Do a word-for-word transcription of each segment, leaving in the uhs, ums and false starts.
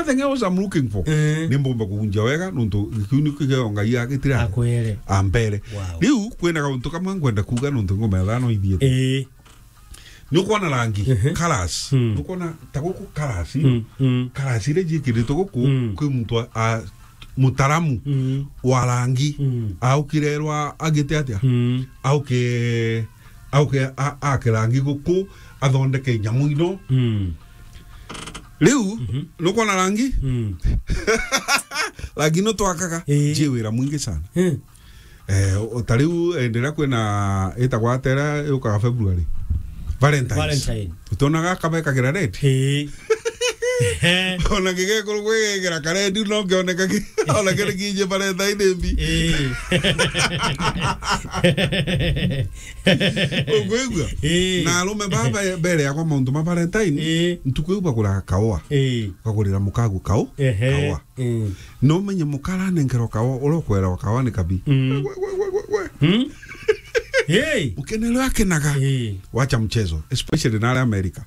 Anything else I'm looking for. Eh. Ni mbomba kugunja wega, nontu kiu ni kigeo Ngai agitira. Akwere. Ambere. Wow. Riu, kwina gauntu kamwe ngwenda kuuga nontu ngoma ya thano ithiete. Eh. Ni ukwona rangi, mhm, colors. Mm. Ni ukwona ta guku colors, mm, mm, colors iria ciikiritwe guku, mm, kwi muntu a, a, mutaramu, mm, wa rangi, mm, aukirerwa agite atia? Mm. Auke, auke a, ake rangi guku, athondeke nyamu ino. Mm. Riu, mhm, ni ukwona rangi? Mm. Rangi no twakaga, eh, ji wira mwingi sana. Eh. Eh, o ta riu, eh, ndiria kwina itagwa atera yukaga February. Valentine's. Valentine. Utonaga kabekagira red? Eh. Ona kigekuru gwegekera ka red no kioneka ki, ona kiri kinje Valentine mbi. Eh. Ukwigua? Eh. Na arume baba mbere yakwa mauntu ma Valentine, eh, ntuku iu baguraga kaua. Eh. Bagurira mukagu kau, ehe, kaua. Mm. No menye mukara nenkerwa kawa, uria ukwerawa kawa ni kabi. Mm. We, we, we, we, we. Mm. Hey. Ukenelwa akenaga. Hey. Wacha mchezo, especially na aria America.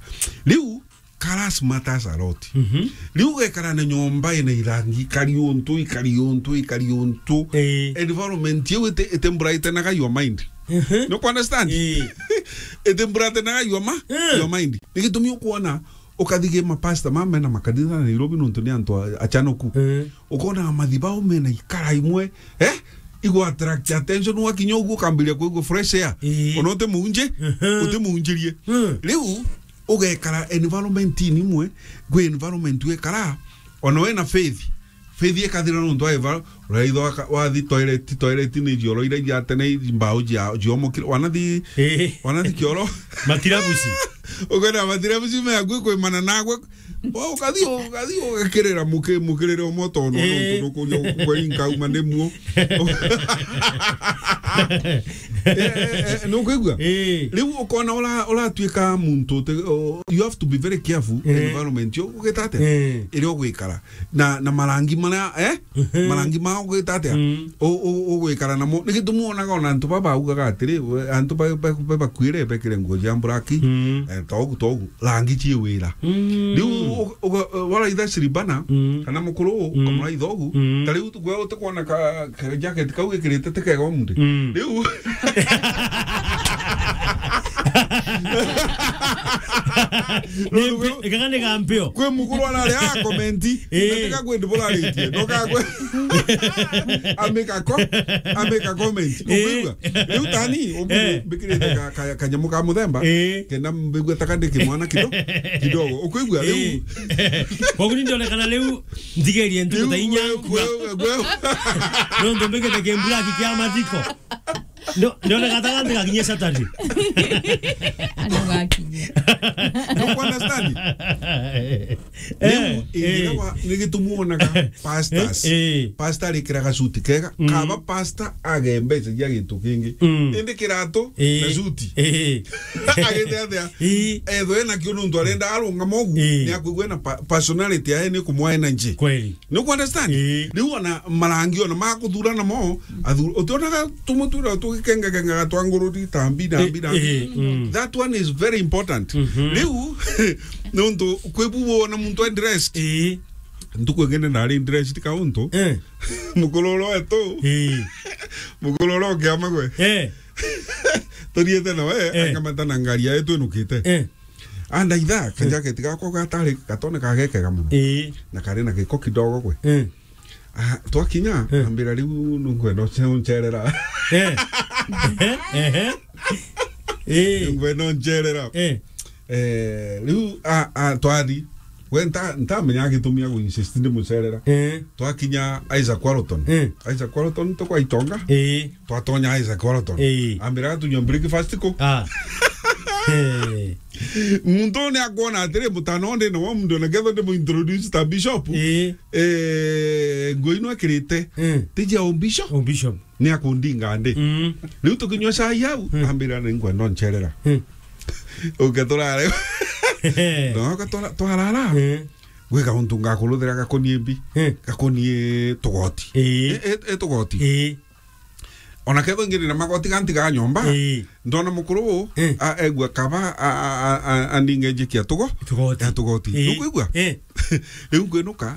Riu, colors matters a lot. Mhm. Riu ugekara na nyomba ina irangi, ikari untu, ikari untu, ikari untu. Hey. Environment iu ite, ite brightenaga your mind. Mhm. No ku understand? Hey. Ite brightenaga your ma-, eh, your mind. Ni gitumi ukwona ukathi gi mapasta ma mena makanitha na Nairobi nontu ni antu a-, achanoku. Eh. Ukona mathibau mena ikara imwe, eh? Igu attract attention, wakinya uguo ukambiria kuigua fresh air. Eh. Ona uti muunji, mhm, uti muunjirie. Mm. Riu ugekara environment ni imwe, gwi environment wekara, ona wena faith, faith ikathira nontu wa eva, uraitho waka-, wathi toilet, toilet ni jioro iria ijatene, mbao jia, jiomokire, wanathi, eh, wanathi kioro. Matirabuci. Ukwenda matirabuci me akui kwimana nagwe. Wa ukathi, ukathi, ugakirira muki-, mukirire umwe tono, eh, nontu nukuja kweri nkauma ndi muo. Eh, eh, eh, nukwigua? Eh. Riu ukona ura-, uratuika muntu uti-, o-, you have to be very careful, eh, environment yo ugita atia? Eh. Iria ugwikara. Na, na marangi maria, eh? Mhm. Marangi mao gwita atia? Mm. U-, u-, ugwikara namo. Ni gitumi wonaga ona antu baba baugaga atiri, we, antu ba, ba, ba, bakuire bekire nguo cia black, mm, eh, togu, togu, rangi ci wira. Mm. Riu u-, uga-, waraitha Siribana, mm, kana mukuru, mm, ukamuraitha ugu, mm, ta riu tu-, gwe utikwona ka, ka jacket kau gikirite ti kega umunthi. Mm. Riu Ni mpi-, ikaga ni ga mpio. Kwi mukuru arari a komenti. Eh. Katika kwendi buraritie. Ndoka kwe. Amika ko. Amika comment. Eh. Ukwigua? Riu tani, ubu, eh, mbikirite ka, ka, kanyamu ka muthemba. Eh. Kenda mbigua taka ndiki mwana kido-, kidogo. Ukwigua? Riu. Eh. Koguo ni ndonekana riu ntigerie ntuku ta inya. Riu, we, we, we. Nontu mbikite kimbulaki kia mathiko. Ndo-, ndoneka ta gati gakinyie Saturday. Ano gakinyie. No ku understand? Eh, riu, eh, ingira wa, ni gitumi wonaga pastors. Eh, eh. Pastor arikiraga suti kega. Mm. Kaba pastor age mbeca cia gintu kingi. Mm. Indi kiratu, eh, na suti. Eh. Agite atia? Eh. Ethwe ena kio nontu arenda arungama ugu, eh, ni akwigua na pa-, personality yae ni kumwa energy. Kweli. Ni ku understand? Ii. Riu ona marangi ona ma kuthura namo, athu-, utionaga tumwe twira tugikengakengaga twa ngururi ta mbi na, eh, mbi na mbi. Eh, mm. That one is very important. Mhm. Riu, nontu kwi bu wona muntu e dressed. Ii. Ntuku ingine nari dressed ka untu. Eh. Mukuru uro wetu. Ii. Mukuru uro kiama gwe. Eh. Turiete nawe, eh, angamata na ngari yae twinukite. Eh. Andaitha, eh, kajaketi gakwa gatari gatone kagekega muno. Ii. Na kari na giko kidogo gwe. Eh. Ah, twakinya, eh, ambira riu nungwenda uce-, uncerera. Eh. Ehe, ehe. Eh. Nungwenda uncerera. Eh. Eh, riu, a, a, twathi. We nta-, ntamenya gitumi agu insist ndi mucerera. Eh. Twakinya Isaac Walton. Eh. Isaac Walton tukwa Itonga. Eh. Twatonya Isaac Walton. Ii. Ambira tunywa breakfast ku. Ah. Eh. Muntu ni akwona atiri, mutano ndi na wa muntu na ketho ndi mu introduce ta bishop. Ii. Eh, nguo ino ekirite. Mm. Tiji ya bishop. Oh, bishop. Ni akundinga ndi. Mm. Riu tukinywa cai au, mm, ambira ni ngwenda ncerera. Mm. Uke turare. No, ka tura-, twarara. Mm. Gwika untu ngakuruthira gakonie mbi. Mm. Gakonie tugoti. Ii. E, e, e tugoti. Ii. Ona ketho ngiri na magoti gantiga nyomba, ii, ndona mukuru uu, ii, a-, egua kaba, a-, a-, a-, a-, aninge njiki ya tugo-, tugoti, ya tugoti. Ii. Nukwigua? Ii. Riu ngwinuka,